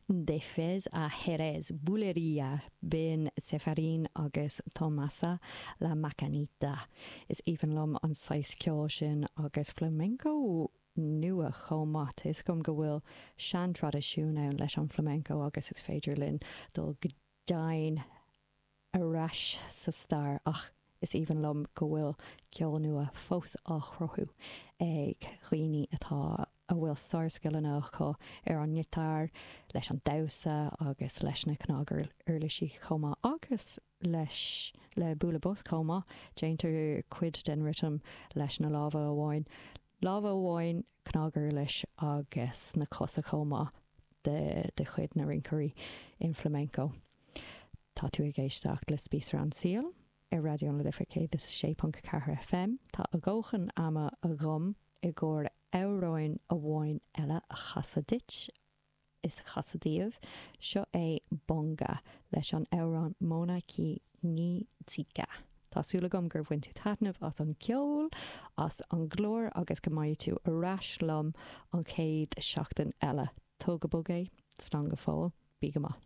De Fez a Jerez, Bulería, b'in Sefarín agus Tomasa La Macanita. Is aoibhinn liom an saghas ceoil sin agus flamenco nua chomh maith. Tá 'fhios agam go bhfuil sean-traidisiún ann leis an flamenco agus is féidir linn dul go domhain ar ais sa stair ach is aoibhinn liom go bhfuil ceol nua fós á chruthú ag dhaoine atá a bhfuil sárscileanna acu ar an ngiotár, leis an damhsa agus leis na cnaguirlisí chomh maith agus leis le bualadh bos chomh maith. Déantar cuid den rithim leis na lámha amháin, lámha amháin, cnaguirlis agus na cosa chomh maith de de chuid na rinceoirí in flamenco. Tá tú ag éisteacht le Spíosra an tSaoil ar Raidió na Life 106.4 FM. Tá a dhóthain ama agam i gcomhair amhráin amháin eile a chasadh duit is a chasadh daoibh. Seo é Bonga leis an amhrán Mona Ki Ngi Tsika. Tá súil agam gur bhain tú taitneamh as an gceol, as an gclár agus go mbeidh tú ar ais liom an chéad seachtain eile. Tóg go bog é, slán go fóill, bí go maith.